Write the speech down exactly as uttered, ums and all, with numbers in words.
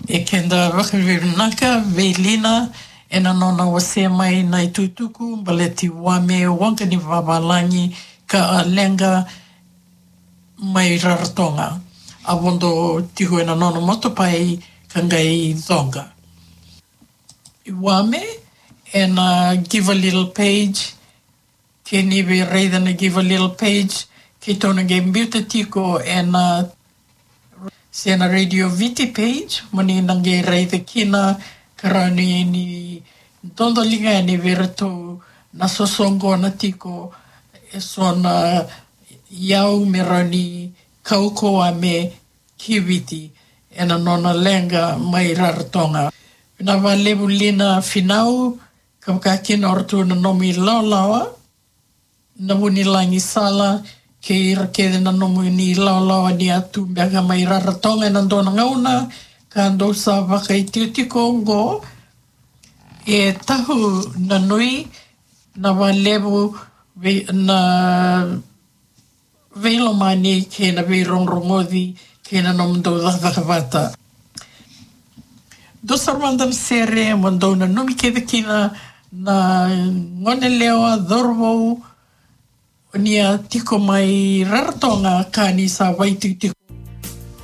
E keda vakavinavinaka vei Lina ena nona wasea mai na itukutuku baleti Wame, waqa ni vavalagi ka a leqa mai Rarotonga. A vodo tiko ena nona motopai ka qai coqa. Wame, ena Give a Little page, ke ni via raica na Give a Little page, keitou na qai biuta tiko ena se na Radio Viti page, mo ni na qai raica kina ka rawa ni, ni dodoliga yani vei ratou na sosoqona tiko eso na iyau me rawa ni kaukaua me ki Viti ena nona leqa mai Rarotonga. Na vakalevu Lina Finau, ka vaka kina o ratou na nomu ilawalawa, na Vunilagisala, kei ira kece na nomuni ilawalawa ni a tu beka mai Rarotonga ena dua na gauna, ka dou sa vakaitikotiko oqo, e Tahu na Nui, na vakalevu vei, na veilomani kei na veirogorogoci kei na nomudou cakacaka vata. Dou sara mada na sere mo dou nanumi kece kina na gonelewa, cauravou, ni a tiko mai Rarotonga ka ni sa vakaitikotiko